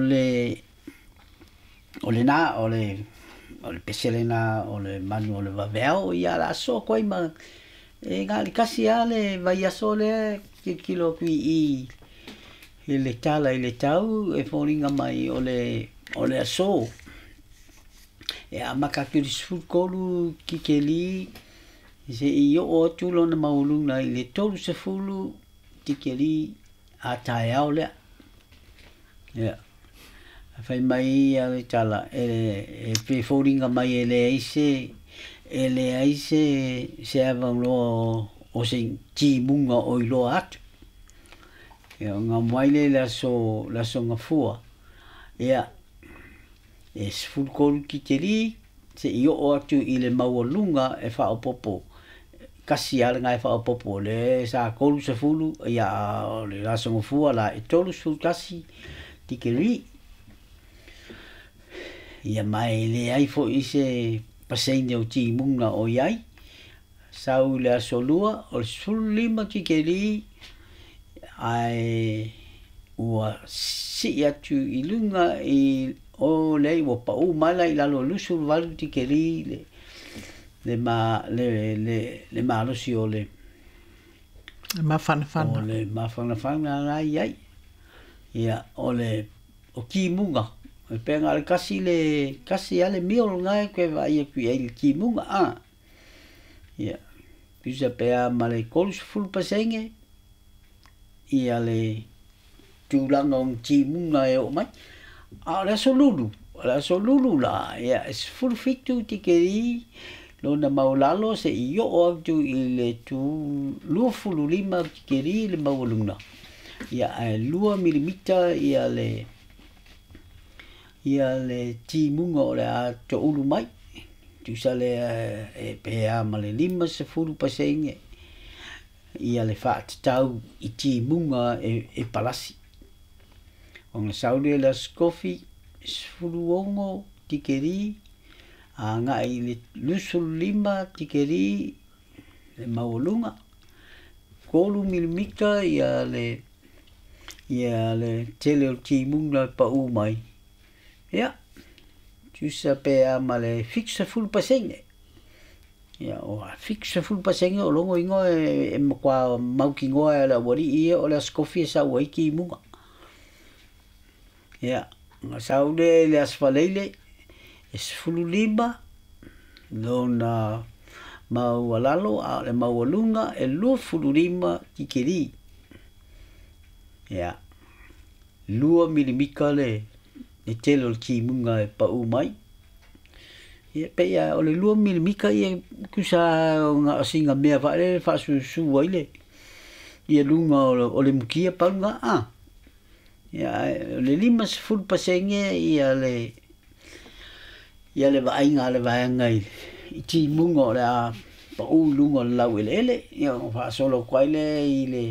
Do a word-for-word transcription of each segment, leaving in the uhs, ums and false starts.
le o lena o le o le pese lena o le manu o le vaveao ia la so koi ma e ga le kasi a le vaiaso lea tilotilo atu i i le tala i le tau e foliga mai o le o le aso e amata atu i le sefulutolu tikeli seʻi oo atu lona maualuga i le tolusefulu tikeli a taeao lea. Ia fai mai ia le tala e e foliga mai e leai se e leai se se avanoa o se timuga o iloa atu. Ia ona mai lea i le aso le aso Gafua ia e sefulutolu tikeli seʻi oo atu i le maualuga e faaopopo kasi lava lena e faaopopo o lea sa tolusefulu ia o le aso Gafua la e tolusefulu tasi tikeli. Ia ma e leai foʻi se paseine o timuga o iai sau i le aso Lua o le sefululima tikeli ae ua sii atu i luga i o leai ua paʻū mai la i lalo o luasefuluvalu tikeli le le ma le le le malosi o le mafanafana o le mafanafana la iai. Ia o le o timuga e pei na o le tasi le tasi lava le mil lena e toe vaai atu i ai i le timuga a. Ia tusa pe a ma le tolusefulu pasene ia le tulaga o timuga e oo mai. A o le aso Lulu, o le aso Lulu la ia e sefulufitu tikeli lona maualalo seʻi oo atu i le tu luasefululima tikeli le maualuga ia ae lua milimita ia le ia le timuga o le a toulu mai tusa lea e pe a ma le limasefulu pasene ia le faatatau i timuga e, e palasi. Ona sau lea i le aso Tofi sefuluono tikeli agai i le luasefululima tikeli le maualuga tolu milimita ia le ia le tele o le timuga e paʻū mai. Ia tusa pe a ma le fitusefulu pasene. Ia o fitusefulu pasene o logo igoa e, e matua mautinoa e le aualii ia o le aso Tofi e sau ai timuga. Ia ona sau lea i le aso Faleile e sefululima lona maualalo a o le maualuga e luasefululima tikeli. Ia lua milimika le le tele o le timuga e paʻū mai. Ia pei a o le lua milimika ia tusa na o sina mea faale faasusu ai le ia luga o le mukia pau lena a. Ia ae o le limasefulu pasene ia le ia le vaaiga a le vaega i i timuga o le a paʻū i luga o le laueleele. Ia ona faasolo atu ai lea i le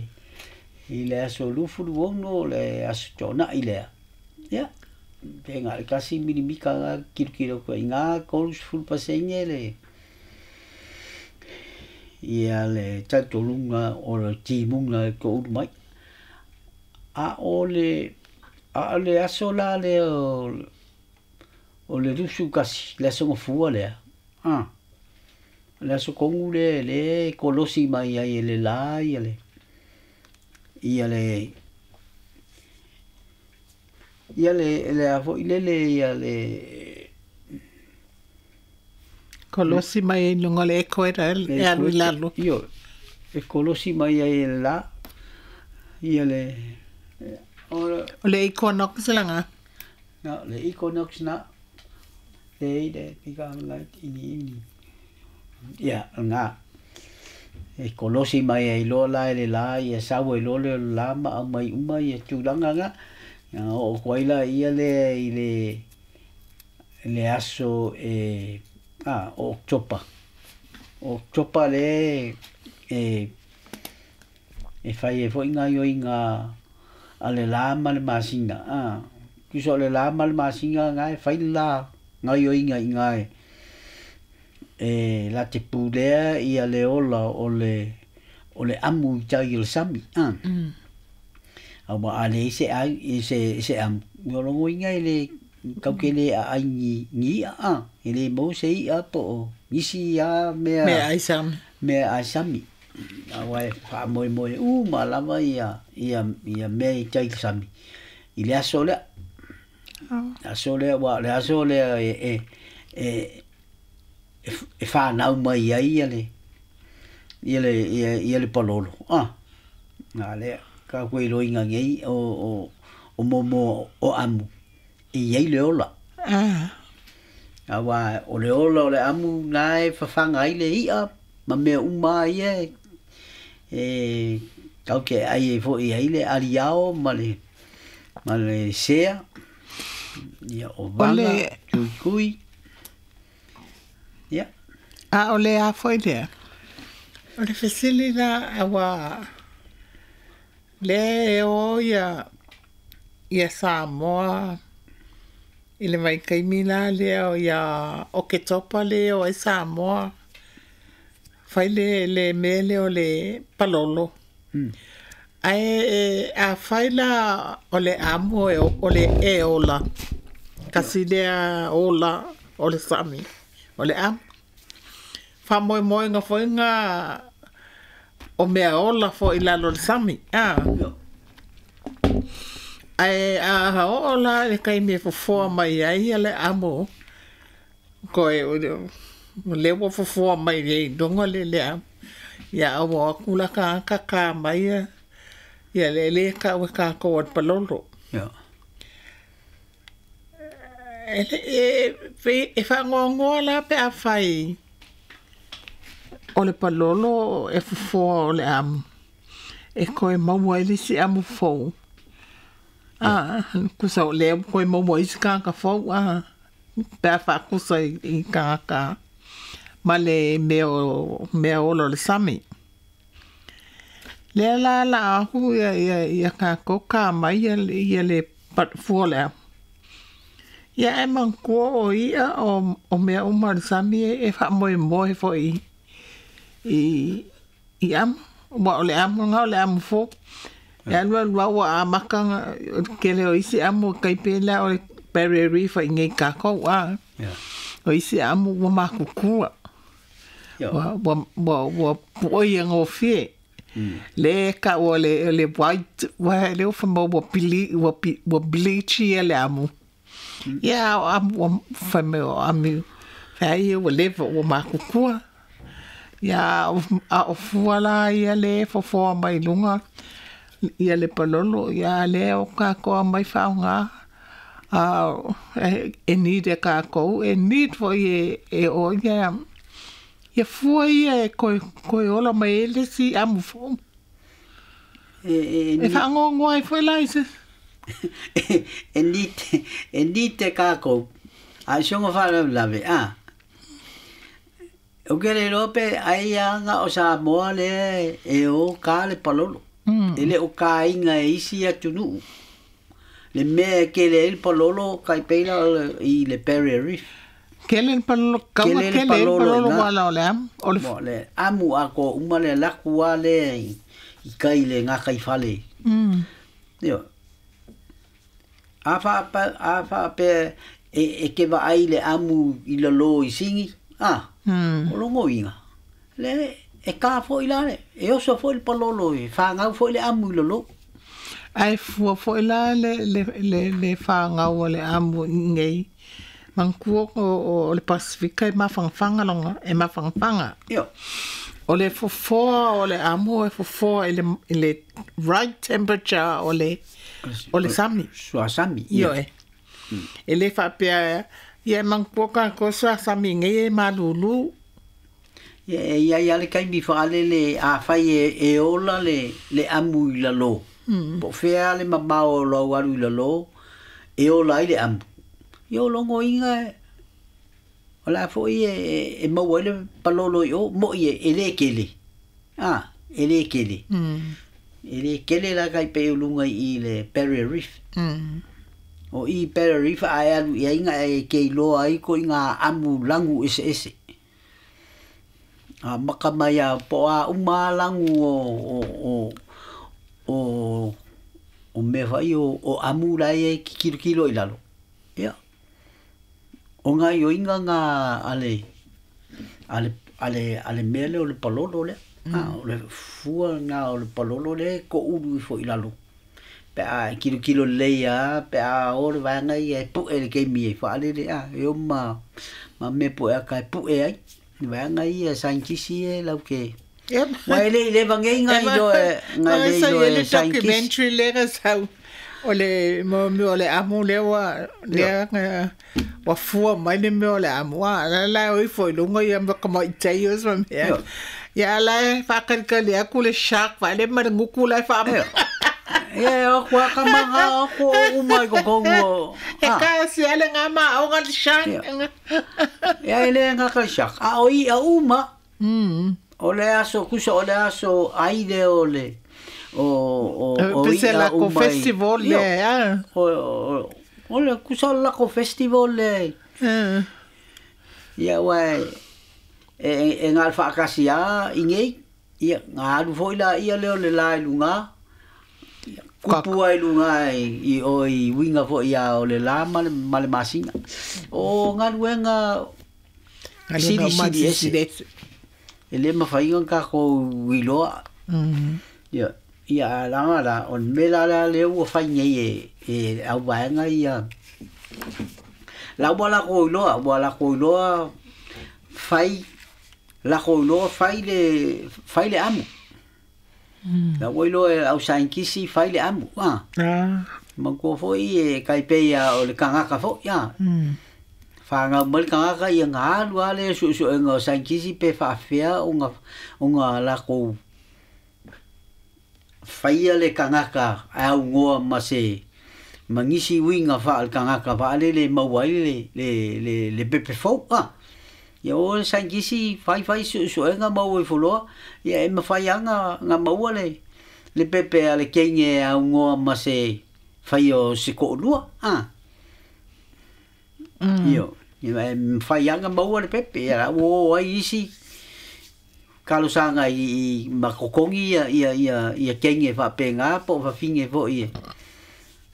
i le aso luasefuluono o le aso Toonai lea. Ia pe na o le tasi milimika na tilotilo atu ai i ina tolusefulu pasene le ia le talitonuga o le timuga e toulu mai. A o le a o le aso la lea o o le luasefulu tasi le aso Gafua lea a o le aso tonu lea lea e kolosi mai ai e le lā ia le ia le ia le le a foi lele ia le Kolosi mai ai i luga o le equator e alu i lalo. Ioe e kolosi mai ai e le lā ia le o O le equinox laga. Na le equinox na day that become light in the evening. Ia lena e kolosi mai ai loa la e le lā ia sau ai loa lea o le lā ma aumai uma ia tulaga na. Ia oo atu ai laia lea i le le aso e a o Oketopa. O Oketopa lea e e fai ai foʻi gaoioiga a le lā ma le masina a. Tusa o le lā ma le masina na e fai le lā gaoioiga i ina e e latou te pulea ia le ola o le o le amu i tai o le sami a. Aua a leai se ai se se amu O logoiga e le taukele aai ni ni i'a a e le maua se i'a po o nisi a mea Meaai sami. Meaai sami aua e faamoemoe uma lava ia ia ia mea i tai i le sami i le aso lea. Aso lea ua o le aso lea e e e e fanau mai ai ia le ia le ia ia le palolo a a lea ka koe iloiga nei o o o momo o amu e i ai le ola. Ah. Aua o le ola o le amu na e fafaga ai le i'a ma mea uma ia e e tau ke ai e fo'i ai le aliao ma le ma le sea ia o O vaga le tuitui ia. A o le a foi lea. O le fesili la aua lea e o ia ia Samoa i le vaitaimi la lea o ia Oketopa lea o ai Samoa fai le le mea lea o le palolo. Mm. Ae afai la o le amo e o le e ola kasi lea ola o le sami o le amo. Faamoemoega foi ga o mea ola foi i lalo o le sami a. Io. Ae a oo la i le taimi e fofoa mai ai ia le amo koe o lea ua fofoa mai ai i luga le le amo. Ia a ua o atu la tagata ka mai ia ia le le tau e tatou o le palolo. Io. E le e pei e faanoanoa la pe afai o le palolo e fofoa o le amo e toe maua ai le isi amo fou. A tusa o lea ua toe maua ai isi tagata fou a pe a faatusa i i tagata ma le mea o mea ola o le sami. Lea la la aku ia ia ia tatou ka mai ia ia le fua o le amo. Ia e manatua o i'a o o mea uma o le sami e faamoemoe foi i i amo ua o le amo lena o le amo fou. E alu alu lava ua amata o le tele o isi amo e tai pei la o le Barrier Reef i inei i tatou a. Io. O isi amo ua matutua. Io. Ua ua ua ua pu'oi e gofie. Mm. Lea e ta'u o le o le white ua lea ua faimai ua pili ua ua bleach ia le amo. Ia a o amo ua faimai o ami feai ia ua leva ua matutua. Ia a o fua la ia le fofoa mai luga ia le palolo ia lea o tatou aumai faaaogā a e need e tatou e need foi e e oo ia ia fua ia e toe toe ola mai ai le isi amo fou. E e E faanoanoa ai foi la i se e need e need e kākou a i soga faalavelave a ou ke le iloa pe ai aga o Samoa lea e o ka le palolo. Mm. E le o kāiga e isi atunuu le mea e kele ai le palolo kai pei la o le i le Barrier Reef. Kele le palolo kauga Kele le kele le palolo palolo iga. ua la o le amo o le Mo le amu atoa uma le alu atu lava lea i i kai le gataifale. Mm. Ioe. A faapa a faapea e e ke vaai le amu i lalo i sigi a Mm. o logoiga le e ka foi la le e oso foi le palolo e whangau foi le amu i lalo. Ae fua foi la le le le le fāgau a le amo i inei manatua o o le Pasifika e mafangafaga loga e mafangafaga. Io. O le fofoa o le amo e fofoa i le i le right temperature o le o le sami. Suasami. Io. Ioe. E le faapea ia e manatua tatou suasami nei e malūlū. Ia e iai a le taimi faalele afai e e ola le le amu i lalo. Mm. Po o fea le mamao o lou alu i lalo e ola ai le amu. Ia o logoiga e o le a foi e e maua ai le palolo i o mo'i e e le kele. A, e le kele. Mm. E le kele la kai pei o luga i le Barrier Reef. Mm. O i Barrier Reef a e alu i ai ga e ke iloa ai ko i ngā amu lagu eseese. A maka mai a po o a uma lava lagu o o o o o mea fai o, o amu lai e kikilo kilo i lalo. Ia. O ngā ioinga ngā ale, ale, ale, ale mea le o le palolo lea. Mm. Ah, o le fua ngā o le palolo le ko ulu ifo i lalo. Pe a kilo kilo lei a, pe a o le vaenga ia e pu'e le keimi e whaalele a, e o ma, ma me pu'e a kai pu'e ai. Vaenga ia sainkisi e lau ke. Wa ele i leva ngei ngai do e ngai le do e sainkisi. Documentary lera sau o le mo mo le amu le wa le wa fua mai le mo le amu a la la o ifo lunga ia ma kama i tei o sa mea. Ia la whakarika le aku le shark wa le mara nguku la wha. Ia o kwa ka manga o ko o mai ko kongo. E ka se ale ngā ma o ngā shark. Ia ele ngā ka shark. A o i a uma. Mm. O le aso kusa o le aso ai le o le o o o i a uma. Festival le a. O o le kusa la ko festival le. Ia wai e e ngā whaakasi a i ngei. Ia ngā alu foi la ia leo le la i lunga. Kupu ai lunga i o i winga foi ia o le la ma le, ma le masinga. O ngā luenga siri siri ese. E le mawhainga ka ko wiloa. Ia, ia langa la, o me la la le ua whai nei e, e au waenga ia. La ua la ko iloa, ua la ko iloa whai, la ko iloa whai le, whai le amu. La ua iloa e au sainkisi whai le amu. Ah. Mangkua foi e kai peia o le kangaka foi. Ah. Whangau mai kangaka ia ngā alu ale su su ngā sainkisi pe whaafea o ngā o ngā lako whaia le kangaka au ngoa ma se mangisi winga wha al kangaka whaale le mauai le le le le pepe fau ah. Ia o sainkisi whai whai su su ngā maua i fuloa ia e mawhai anga ngā maua le le pepe a le keinge au ngoa ma se whai o se ko'olua ah. Io, ia whai anga maua le pepe, ia o ai isi kalosanga i, i makokongi ia ia ia ia kenge whapenga po whawhinge fo ia.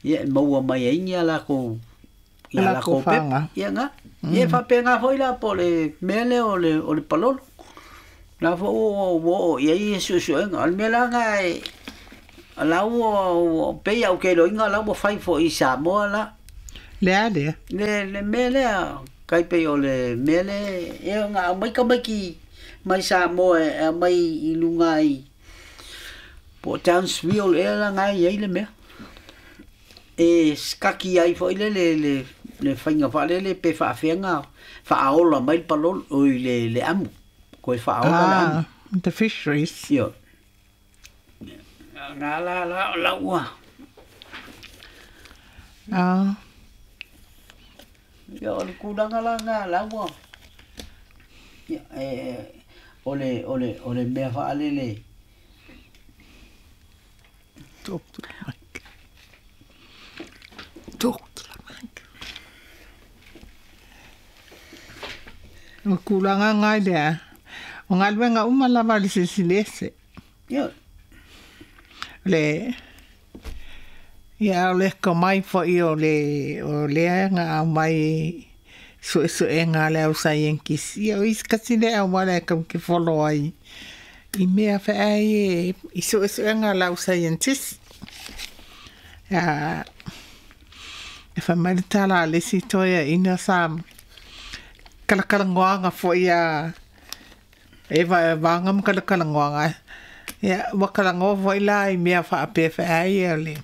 Ia maua mai ai ia la ko ia la ko pepe. Ia nga. Ia whapenga foi la po le mele o le o le palolo. La fo o o ia ia su su nga al mela nga e la o pe ia o ke lo inga la o whai fo i Samoa la. Le a lea. Le, le mele a, kai pe o le mele, e ngā mai ka mai ki, mai Samoa e mai i lunga i, po Townsville e la ngai ai le mea. E skaki ai foi le le le, le whainga whaale le pe whaafenga, whaaola mai le palolo, oi le, le amu. Koe whaaola le amu. Ah, the fisheries. Io. Ngā la la la ua. Ah. Ia o le kūlanga la ngā laua. Ia, e, o le, o le, o le mea whaalele. Talk to the mic. Talk to the mic. O kūlanga ngai lea. O ngā luenga uma lava le sisilese. Ia. Le... Ia o le ka mai fo i o le o lea ngā mai su su e ngā leo sainkisi. Ia o isi kasi lea wala e kau ke follow ai. I mea wha ai e i su su e ngā leo scientist. Ia e wha mai le tala le si toia ina sa kalakalangoanga fo ia e va vanga kalakalangoanga. Ia wakalangoa fo i la i mea wha ape wha ai e le.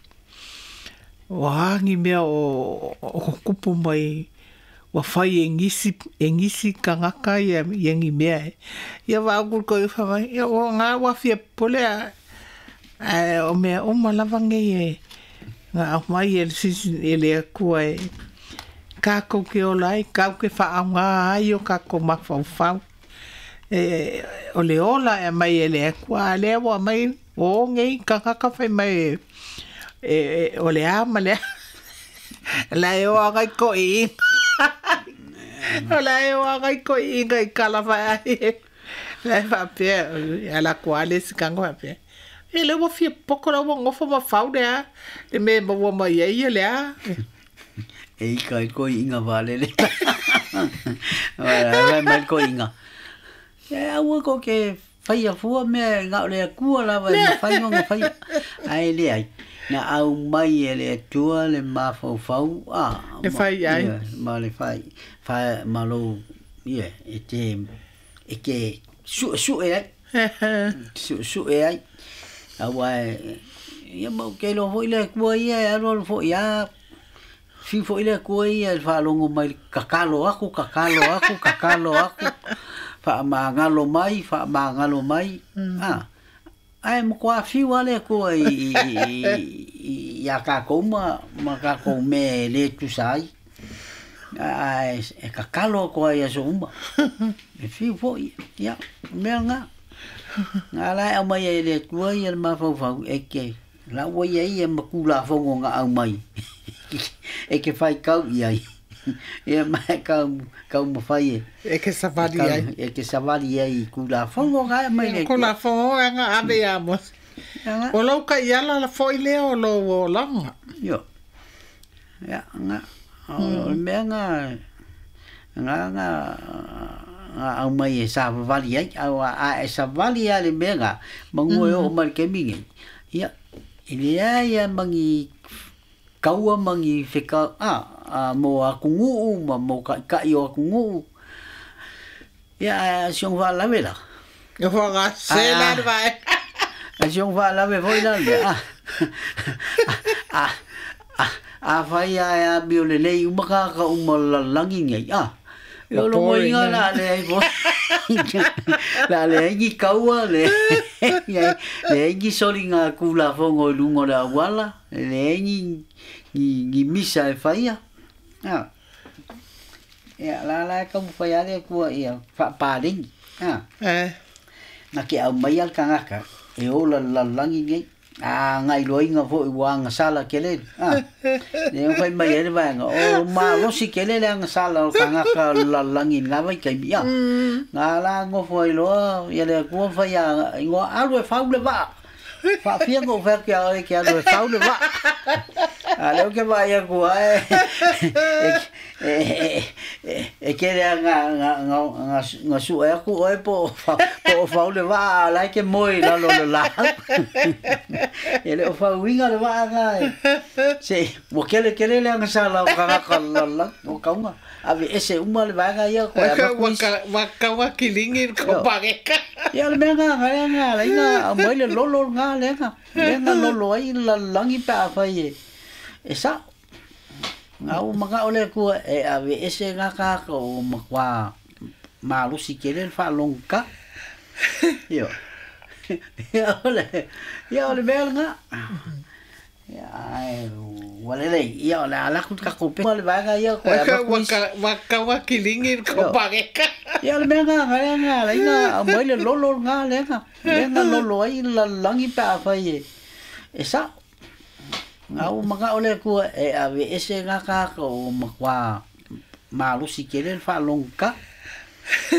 O hangi mea o, o kupu mai wa whai e ngisi, e ngisi kangaka ia, ia ngi mea e. Ia wa akul ko i wha mai, ia o ngā wawhia pole a, a o mea o malava ngei e ngā au mai e le sisi e le akua e kākou ke ola ai, kākou ke wha au ngā ai o kākou mawhau. E, o le ola e mai e le akua, a lea wa mai o ngei kangaka whai mai e e o le a ma le la e o agai ko i o la e o agai ko i inga i kala whai ai la e whapea a la kua le sikango whapea E le ua fia poko la ua gofa ma fau le a le mea e maua mai ai ia le a. E ika i ko inga valele. Wala mai ko inga. E aua ko ke whaia fua mea ngā o le akua lava e mawhai nga whaia. Ai le ai. Na au mai e le atua le mafaufau. Ah, Le whai ai. Ma le whai. Whai ma lo, ia, e te, e ke su su e ai. Su su e ai. Aua e, ia mau ke lo foi le akua ia e alu alu foi a. Fiu foi le akua ia e whaalongo mai kakalo aku, kakalo aku, kakalo aku. Whaamangalo mai, whaamangalo mai. Ah. Ai mo kwa fiu ale akua i, i, i, i a kākou ma, ma kākou me le tusa ai. Ai, e kakalo ako ai aso uma. E fiu foi, ia, mea ngā. Ngā lai au mai e le atua ia le mafaufau, e ke lau ia ia makula fongo ngā au mai. E ke whai kau i ai. Ia mai kau, kau mawhai e. E ke savali ai. E ke savali ai kula fongo ngā mai le Ko la fongo e ngā ave ia mo. Ia O lau ka iala la foi lea o lo o langa. Yo. Ia, ngā. O mea ngā, ngā, ngā, ngā au mai e savali ai. Au a e savali a le mea ngā, mangua e o mai ke mingi. Ia, i lea ia mangi kaua mangi wheka, ah, a mo aku nguu, ma mo ka kai o aku nguu. Ia, a siong wha lawe la. E wha se la le vai. A siong wha lawe foi la le. Ah, ah, ah, a whai a a mio le lei umaka ka uma lalangi ngai. Ah, yo lo mo inga la le ai po. La le ai ni kaua le. Le ai ni soli ngā kula fongo i lungo le awala. Le ai ni ni ni misa e whaia. Ah. Ia, la la ka mu whai ale kua ia whaaparengi. Ah. Eh. Na ke au mai al kangaka e ola lalangi ngai. Ah, ngai loinga foi ua sala kele. Ah. Le whai mai ele vaenga. O malosi kele le anga sala o kangaka lalangi ngā vai kai mia. Ngā la ngofo ai loa, ia le kua whai a ingoa alu e whau le waa. Whaafia ngō whai ki a oe ki alu e whau le waa. A leo ke vai a kua e e e e kere a ngā ngā ngā ngā ngā su e aku oe po po whau le waa a lai ke moe lalo le la. E le o whau inga le waa ngā e. Se, wa kele kele le anga sala o kangaka lala o kaunga. Ave ese uma le vaega ia koe a makuisi. Wa kawa kilingi ko pareka. Ia le mea ngā ngā ngā la inga au mai le lolo ngā le ngā. Le ngā lolo ai lalangi pe a whai e. E sa. Ngā o maka o le kua e ave ese ngā kāka o makwa malusi kele le whaalonga. Io. Ia o le, ia o le mea ngā. Ia ai, walele, ia o le alaku ka kope. Le vaega ia koe a makuisi. Wa kawa kilingi ko pareka. Ia le mea ngā ngā ngā la inga au mai le lolo ngā le ngā. Le ngā lolo ai lalangi pe a whai e. E sa. Ngā o maka o le kua e ave ese ngā kāka o makwa malusi kele le whaalonga.